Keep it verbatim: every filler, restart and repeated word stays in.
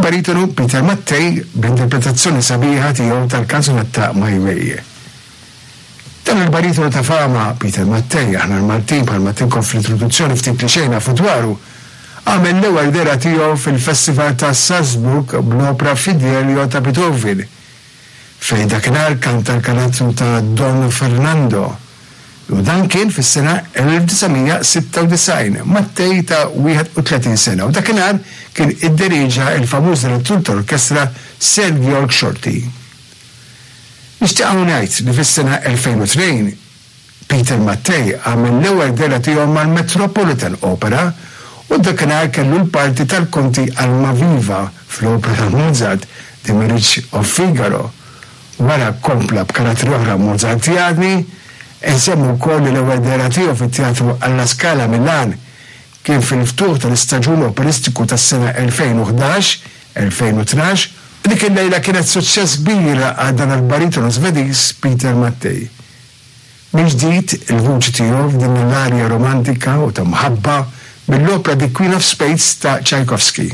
Il-baritonu Peter Mattei b'interpretazzjoni sabiħa tiegħu tal-kanzunetta My Way. Dan il-baritonu ta' fama Peter Mattei, aħna l-Maltin bħalma għedtilkom fl-introduzzjoni ftit li xejn nafu dwaru, għamel l-ewwel dehra tiegħu fil-Festival ta' Salzburg bl-opra Fidelio ta' Beethoven, fejn dakinhar kanta l-karattru ta' Don Fernando. U dan kien fis-sena elf disa' mija sitta u disgħin, Mattei ta' wieħed u tletin sena, u dakinhar kien idderiġa il-famuż direttur tal-orkestra Sir Georg Solti. Nixtieq ngħid li fis-sena elfejn u tnejn Peter Mattei għamel l-ewwel dehra tiegħu mal-Metropolitan Opera u dakinhar kellu l-parti tal-Konti Almaviva fl-opera ta' Mozart, The Marriage of Figaro. Wara kompla b'karattri oħra Mozartjani. Insemmu wkoll li l-ewwel dehra tiegħu fit-Teatru alla Scala Milan kien fil-ftuħ tal-istaġun operistiku tas-sena elfejn u ħdax elfejn u tnax. Dik il-lejla kienet suċċess kbir għal dan il-baritonu Svediż Peter Mattei. Mill-ġdid il-vuċi tiegħu f'din l-arja romantika u ta' mħabba mill-opera The Queen of Spades ta' Tchaikovsky.